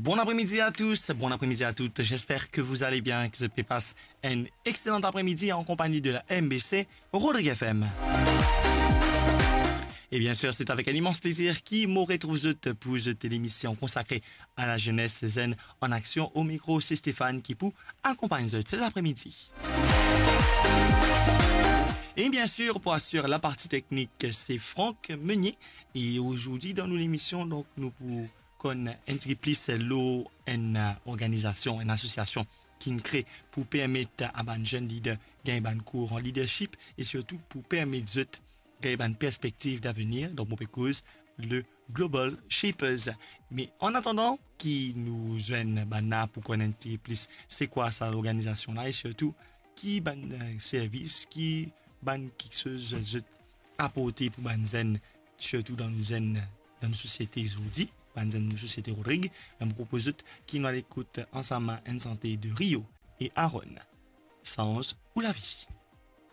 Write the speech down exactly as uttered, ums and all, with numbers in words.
Bon après-midi à tous, bon après-midi à toutes. J'espère que vous allez bien, que zot pe pas enn exselan apremidi an konpagni de la M B C Rodrigue F M. Et bien sûr, c'est avec un immense plaisir ki mo retrouv zot pou zot lemision konsakre à la jeunesse, Zenn en Action. Au micro, c'est Stéphane ki pou akonpagn zot cet après-midi. Et bien sûr, pour assurer la partie technique, c'est Franck Meunier. Et aujourd'hui, dans nou lemision, donk, nou pou konn enn tigit plis lor enn, eh, organizasion, enn asosiasion ki'nn kre pou permet a bann zenn lider gagn bann kour an leadership e sirtou pou permet zot gagn bann perspektiv davenir. Donk, mo pe koz le Global Shapers. Me an atandan ki nou zwenn bann la pou konn enn tigit plis se kwa sa lorganizasion la e sirtou ki bann, eh, servis, ki bann kiksoz zot aporte pou bann zenn, sirtou dan nou zenn, dan nou sosiete zordi, bann zenn nou sosiete Rodrig, me mo propoz zot ki nou al ekout ansam enn sante de Rio e Aaron, Sanz ou lavi.